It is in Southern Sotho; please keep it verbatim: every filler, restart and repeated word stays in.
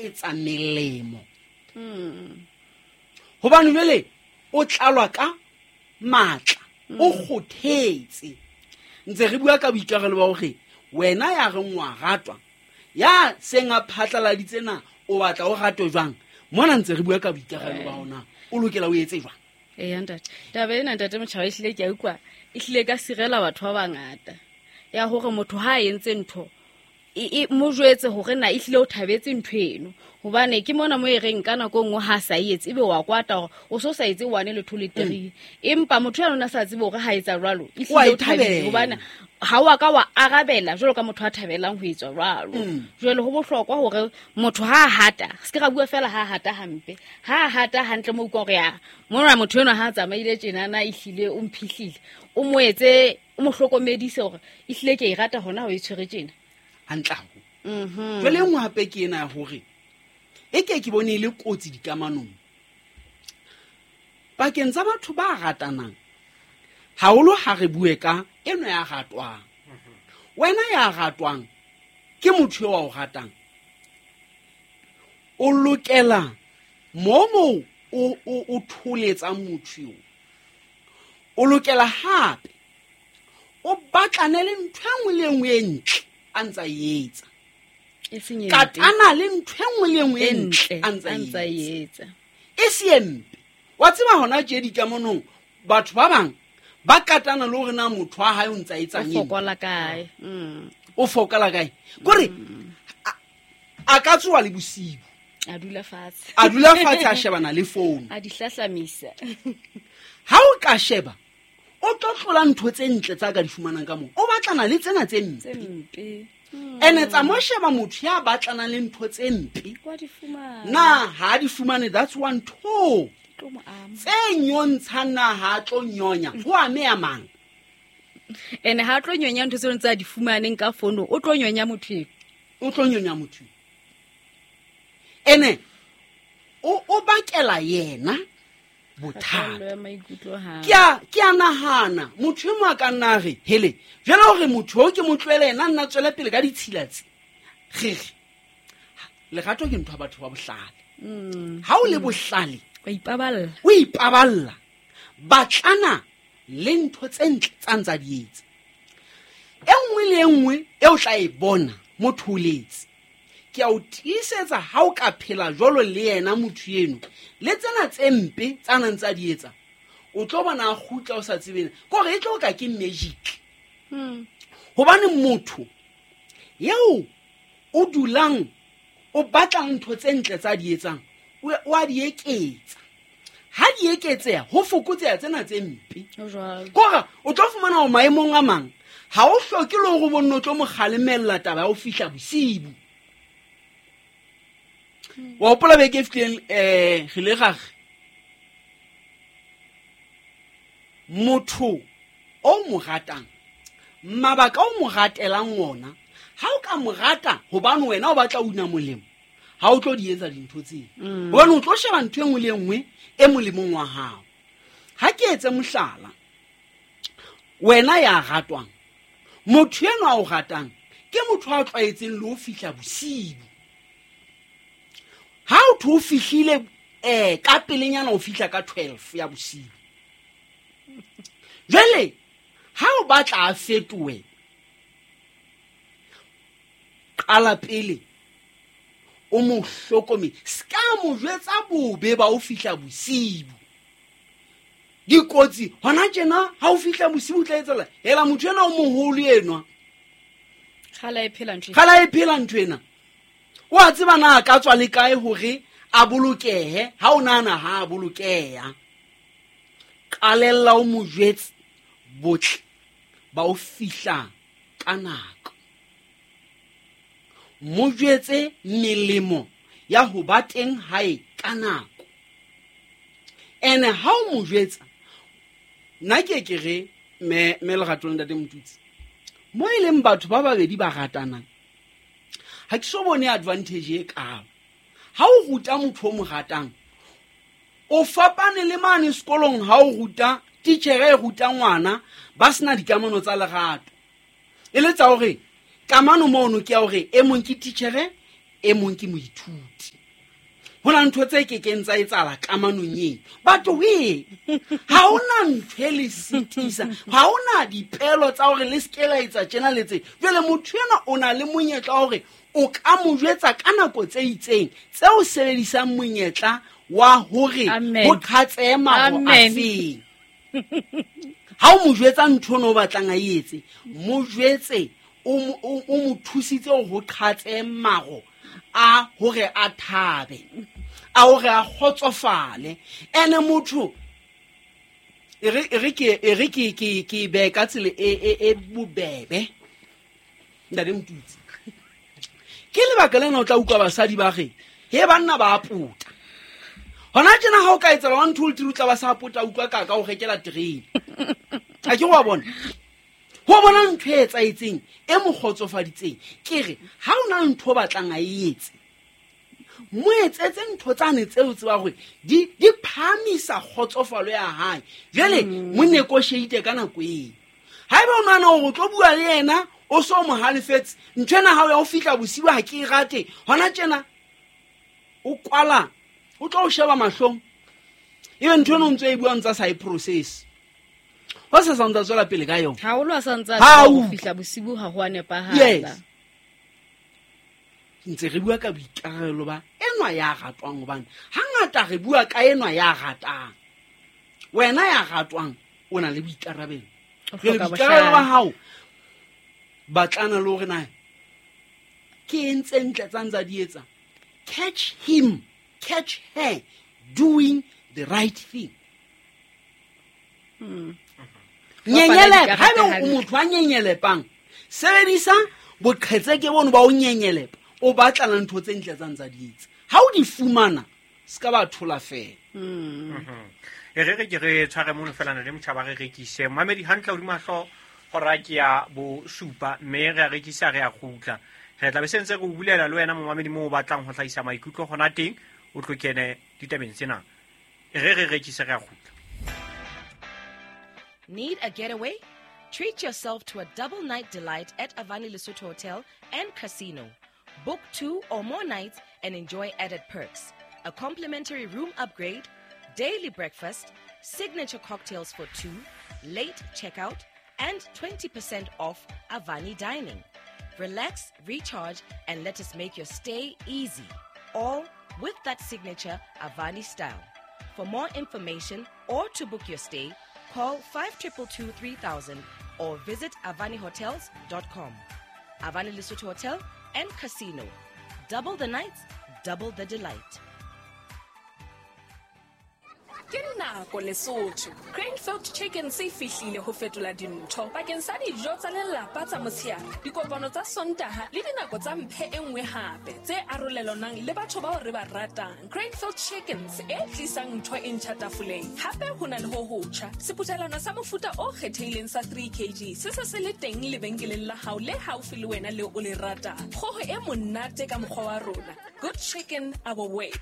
eketsa melemo. Hobane jwale o tlalwa ka matla, o kgothetse. Ntse re bua ka boikarabelo ba hore wena ya reng wa ratwa, ya seng a phatlaladitse na o batla o ratwe jwang, mona ntse re bua ka boikarabelo ba hona o lokela o etse jwang. Eya ntate, taba ena ntate Motjhaba ehlile ke a utlwa, ehlile ka sirela batho ba bangata ya hore motho ha a entse ntho e mo jwetse hore na ehlile o thabetse ntho eno, hobane ke mona mo e reng ka nako e nngwe ha sa etse ebe wa kwata hore o so sa etse one le two le three, empa motho ya lona sa tsebe hore ha etsa jwalo ehlile o thabile, hobane ha wa ka wa arabela jwalo ka motho a thabelang ho etswa jwalo. Jwale ho bohlokwa hore motho ha hata, se ke ra bua fela ha hata hampe, ha hata hantle mo utlwa hore ya mona motho enwa ha tsamaile tjena na ehlile o mphihlile, o mo etse o mo hlokomedise hore ehlile ke e rata hona ho e tshwere tjena hantle haholo. Jwale e nngwe hape ke ena ya hore e ke ke bone e le kotsi dikamanong pakeng tsa batho ba ratanang, haholo ha re bue ka eno ya ratwang. Wena ya ratwang ke motho eo a o ratang, o lokela mo mo o o tholetsang motho eo, o lokela hape o batlane le ntho e nngwe le e nngwe e ntle a ntsa e etsa, katana le ntho e nngwe le e nngwe e ntle a ntsa e etsa, e se e mpe. Wa tseba hona tje dikamanong batho ba bang ba katana le hore na motho wa hae o ntsa etsang eng, o fokola kae, o fokola kae, kore a ka tsoha le bosibu a dula fatshe, a dula fatshe a shebana le phone, a di hlahlamisa. Ha o ka sheba o tlo tlola ntho tse ntle tsa ka di fumanang ka moo, o batlana le tsena tse mpe. Ene tsa mo sheba motho ya batlanang le ntho tse mpe na ha di fumane, that's one two tse nyontshang na ha tlo nyonya ho ame ya mang, ene ha tlo nyonya ntho tseo tsa di fumaneng ka fono, o tlo nyonya motho, o tlo nyonya motho ene o o bakela yena bothata. Ke a ke a nahana motho e mo a ka nna re hele jwale hore motho o ke mo tlohele yena nna tswele pele ka ditshila tse re lerato ke ntho ya batho ba bohlale. Ha o le bohlale o ipaballa, o ipaballa batlana le ntho tse ntle tsa ntsa di etsa. E nngwe le e nngwe e o tla e bona motho o letse, ke a o tiisetsa ha o ka phela jwalo le yena motho eno le tsena tse mpe tsa nang tsa di etsa, o tlo bona a kgutla o sa tsebeng kore e tlo ka ke magic. Hobane motho eo o dulang o batlang ntho tse ntle tsa di etsang o a di eketsa, ha di eketseha ho fokotseha tsena tse mpe. Kore o tlo fumana ho maemong a mang ha o hloke le hore bonno tlo mo kgalemella taba ya ho fihla bosibu. Wa hopola beke e fetileng eh re le ra re motho o mo ratang mabaka o mo ratelang ona, ha o ka mo rata hobane wena o batla una molemo, ha o tlo di etsa dintho tseo, hobane o tlo sheba ntho e nngwe le e nngwe e molemong wa hao. Ha ke etse mohlala, wena ya ratwang, motho enwa a o ratang ke motho a tlwaetseng le ho fihla bosibu. Ha o tho fihlile eh ka pelenyana o fihla ka twelve ya bosiu. Jwale ha o batla a fetohe, qala pele o mo hlokome, ska mo jwetsa bobe ba o fihla bosiu. Dikotsi hona tjena ha o fihla bosiu o tla etsela hela motho ena o moholo enwa kgala e phela ntho, kgala e phela ntho ena. O a tseba na ka tswa le kae hore a bolokehe, ha o nahana ha a bolokeha. Qalella o mo jwetse botle ba o fihla ka nako, mo jwetse melemo ya ho ba teng hae ka nako. Ene ha o mo jwetsa, nna ke ke re me me lerato le ntate Motutsi, mo e leng batho ba babedi ba ratanang, ha ke so bone advantage e kaalo. Ha o ruta motho o mo ratang, o fapane le mane sekolong ha o ruta titjhere e ruta ngwana ba sena dikamano tsa lerato, e le tsa hore kamano mono ke ya hore e mong ke titjhere E mong ke moithuti. Ho na ntho tse kekeng tsa etsahala kamanong eo. Batho we, ha hona ntho e le sitisa, ha hona dipelo tsa hore le se ke la etsa tjena le tse. Jwale motho enwa o na le monyetla wa hore o ka mo jwetsa ka nako tse itseng tse o sebedisang monyetla wa hore Amen. ho qhatsehe maro Amen. afeng. Ha o mo jwetsa ntho eno o batlang a e etse, mo jwetse o mo, o, o mo thusitse hore ho qhatsehe maro a hore a thabe, a hore a kgotsofale. Ene motho e re, e re ke, e re ke, ke, ke behe ka tsela e, e, e bobebe, Ntate Motutsi. Ke lebaka lena o tla utlwa basadi ba re, he banna ba a pota. Hona tjena ha o ka etsahala one, two, three, o tla ba sa pota, utlwa ka ka o rekela terene. Ha ke wa bona? Ho bona ntho e etsahetseng e mo kgotsofaditseng. Ke re ha o na ntho o batlang a e etse, mo etsetse ntho tsane tseo tseba hore di, di phahamisa kgotsofalo ya hae. Jwale mo negotiate ka nako eo. Haeba o nahana hore o tlo bua le yena o so mo halefetse, ntho ena ha o ya ho fihla bosiu ha ke e rate, hona tjena o kwala, o tlo o sheba mahlong, ebe ntho eno o ntso e buang tsa sa e process. Ho sa sa ntsa tswela pele ka yona. Haholo a sa ntsa Ha tseba ho o fihla bosiu ha ho a nepahala. Yes. Ntse re bua ka boikarabelo ba enwa ya ratwang, hobane hangata re bua ka enwa ya ratang. Wena ya ratwang o na le boikarabelo. O Jwale hloka boikarabelo ba bohlale. hao batlana le hore na ke eng tse ntle tsa ntsa di etsa. Catch him, catch her doing the right thing. Hmm. Nyenyelepa. Bapala Haeba dikarete o hantle. motho a nyenyelepang, sebedisa boqhetseke bono ba o nyenyelepa, o batlana ntho tse ntle tsa ntsa di etsa. Ha o di fumana, se ka ba thola feela. Hmm. Mhm. E re re ke re tshware mono fela na le motjhaba re rekise. Mamedi hantle hodima hlooho hora ke ya bosupa, mme re a rekisa, re a kgutla. Re tla be se ntse re o bulela le wena momamedi moo o batlang ho hlahisa maikutlo hona teng, o tlo kene ditabeng tsena. E re re rekise, re a kgutla. Need a getaway? Treat yourself to a double night delight at Avani Lesotho Hotel and Casino. Book two or more nights and enjoy added perks. A complimentary room upgrade, daily breakfast, signature cocktails for two, late checkout, and twenty percent off Avani dining. Relax, recharge, and let us make your stay easy. All with that signature Avani style. For more information or to book your stay, call five triple two three thousand or visit avani hotels dot com. Avani Lesotho Hotel and Casino. Double the nights, double the delight. Ke nako Lesotho. Cranefield Chicken se fihlile ho fetola dintho bakeng sa dijo tsa lelapa tsa motshehare, dikopano tsa Sontaha le dinako tsa mphe e nngwe hape tse arolelanang le batho bao re ba ratang. Cranefield Chickens e tlisang ntho e ntjha tafoleng. Hape ho na le ho hotjha, seputhelwana sa mofuta o kgethehileng sa three kilograms se se se le teng lebenkeleng la hao le haufi le wena leo o le ratang. Kgoho e monate ka mokgwa wa rona. Good chicken our way.